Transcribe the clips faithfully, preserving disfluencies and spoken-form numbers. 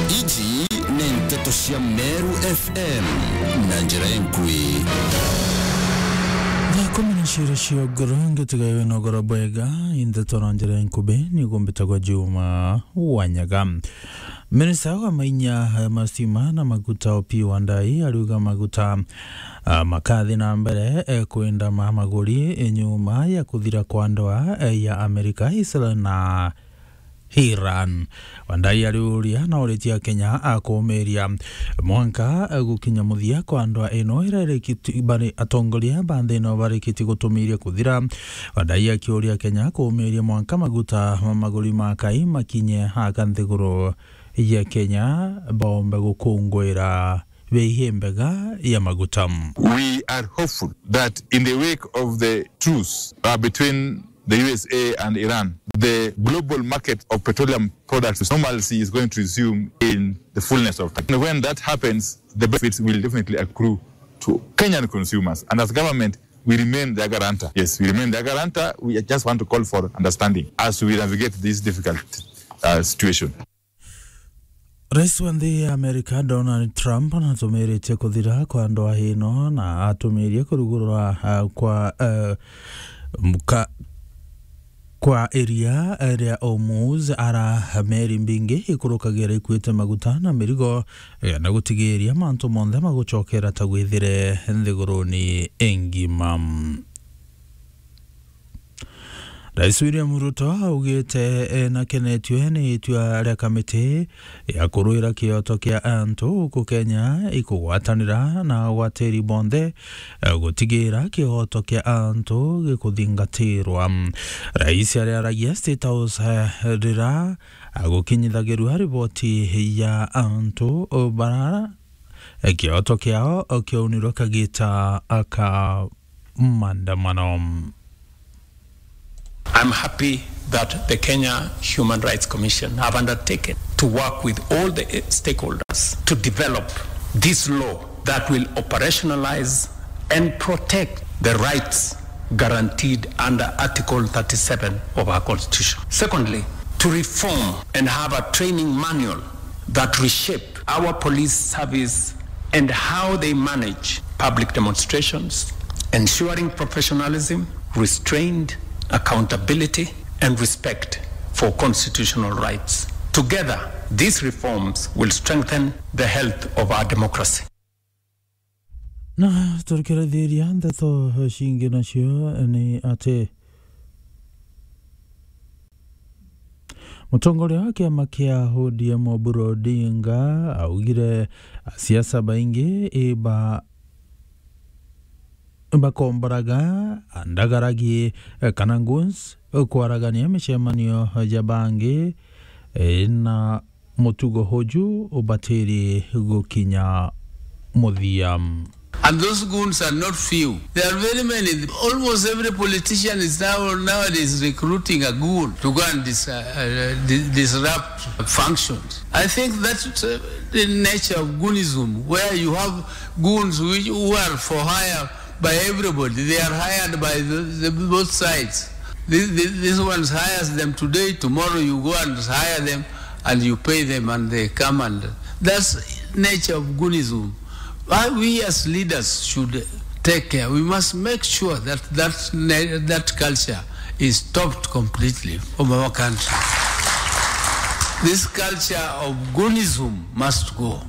Iji ni nteto cia Meru F M na njira inkui. Thaa kumi na ciiri cia ugoro, ngitiga wina ugoro bwega, i nteto na njira inkubi, niguo mbitagwa Juma Wanyaga. Minista wa mainya, eh, mastima na maguta Opiyo Wandayi ariuga maguta, ah, makathi na mbere, eh, kwenda ma maguri, eh, nyuma ya kuthira kwa ndoa, eh, ya Amerika, Israel na Iran. Wandayi ariuria na uritie Akenya akumiria mwanka gukinya muthia kwa ndoa ino iria irikiti-, bari atongoria ba nthi ino barikitie gutumiria kuthira. Wandayi akiuria Akenya kumiria mwanka maguta ma maguri ma kai makinye aka nthiguru ya Kenya baombe gukungwira bei imbega ya maguta. We are hopeful that in the wake of the truce, uh, between the U S A and Iran, the global market of petroleum products normalcy is going to resume in the fullness of time. And when that happens, the benefits will definitely accrue to Kenyan consumers. And as government, we remain their guarantor. Yes, we remain their guarantor. We just want to call for understanding as we navigate this difficult, uh, situation. Rais wa nthi ya Amerika, Donald Trump, natumiritie kuthira kwa ndoa ino na atumirie kurugurura, ah, kwa, eh, mka-, kwa iria, eh, ria Hormuz, ara meri mbingi ikurukagira ikuite maguta na mirigo, eh, na gutigiria mantu monthe magucokera ta gwithire nthiguruni ingima. Rais William Ruto augite enakenetue ni itua ria kamiti ya kurwira kioto kia antu guku Kenya ikugwatanira na agwatiri bonthe, eh, gutigira kioto kia antu gikuthingatirwa. Rais ariaragia State House, eh, rira agukinyithagirua riboti ya antu bara, eh, kioto kiao kiaunirwe kagita ka maandamano. I'm happy that the Kenya Human Rights Commission have undertaken to work with all the stakeholders to develop this law that will operationalize and protect the rights guaranteed under Article thirty-seven of our Constitution. Secondly, to reform and have a training manual that reshape our police service and how they manage public demonstrations, ensuring professionalism, restraint, accountability, and respect for constitutional rights. Together, these reforms will strengthen the health of our democracy. Na turikirithiria ndeto cingi nacio ni ati mutongoria wa kiama kia O D M Oburu Odinga augire asiasa baingi iba-, bakomboraga andagaragi, eh, kana goons, eh, kwaragania micemanio ja bangi, eh, na mutugo uju ubatiri gukinya muthia. And those goons are not few. There are very many. Almost every politician is now, nowadays, recruiting a goon to go and dis-, uh, uh, di-, disrupt functions. I think that's, uh, the nature of goonism, where you have goons which, who are for hire by everybody. They are hired by the, the both sides. These, these, this one hires them today, tomorrow you go and hire them and you pay them and they come, and that's nature of goonism. Why we as leaders should take care. We must make sure that that, that culture is stopped completely from our country. This culture of goonism must go.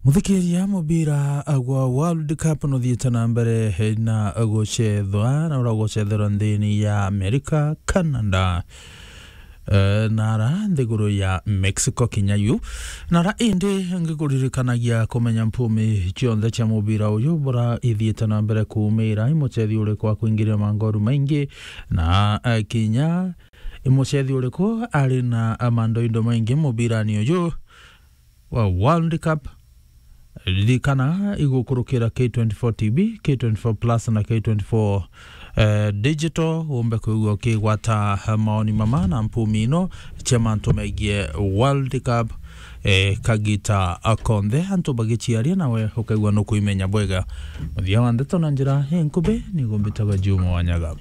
Muthikiria, mubira gwa World Cup nuthiite na mbere na gucethwa, na uria gucetherwa nthini ya America, Canada, eh, na ara nthiguru ya Mexico kinya yu. Na ara indi ngikuririkanagia kumenya mpumi cionthe cia mubira uyu bura ithiite na mbere kuumira, i mucethi uriku wa kuingiria mangoru maingi, na, eh, kinya i mucethi uriku ari na mandoindo maingi mubirani uyu wa World Cup. Ririkana igukurukira K twenty-four T V, K twenty-four Plus na K twenty-four, eh, Digital, umbe kwigua ukigwata maoni mama na mpumi ino cia mantu megie World Cup, eh, kagita konthe antu bagiciaria, nawe ukaigua nukuimenya bwega. Muthia wa ndeto na njira inkubi, niguo mbitagwa Juma Wanyaga.